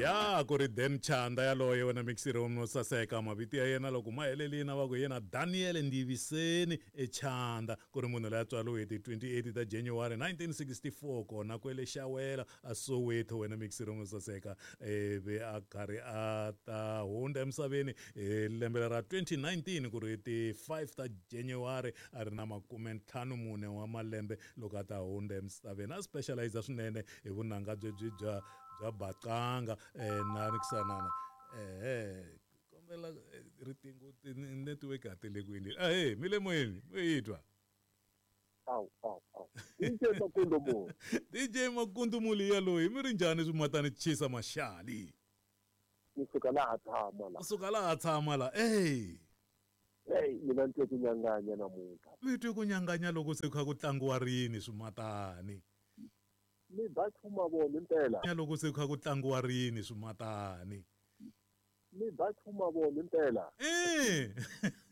Ya ku ri Dan Chanda yaloye wena mixiri wo saseka. Mavito ya yena loko ma helelini a va ku yena Daniel Ndiviseni eChanda, ku ri munhu loyi a tswariwe hi ti 28 ta January 1964 kona kwele Xawela a Soweto wena mixiri wo saseka, ivi a karhi a ta hundza emisaveni hi lembe ra 2019 ku ri ti 5 ta January a ri na 54 wa malembe loko a ta hundza emisaveni. A specialize swinene hi vunanga byebyi bya baqanga na rikisanana kombela riqingho network a ti le ku endleni. Ahee, mi le moyeni, mi yi twa? Awu, awu, awu. DJ Makundu Muli. DJ Makundu Muli yaloyi, mi ri njhani swimatani chisa maxali? Kusuka laha tshama la. Kusuka laha tshama la. Ey. Hey, mina ni twe ku nyanganya namuntlha. Mi twe ku nyanganya loko se kha ku tlangiwa rini swimatani? Ni ba chuma vona impela. Loko se kha ku tlangiwa rini swimatani? Ni ba chuma vona impela. Eh.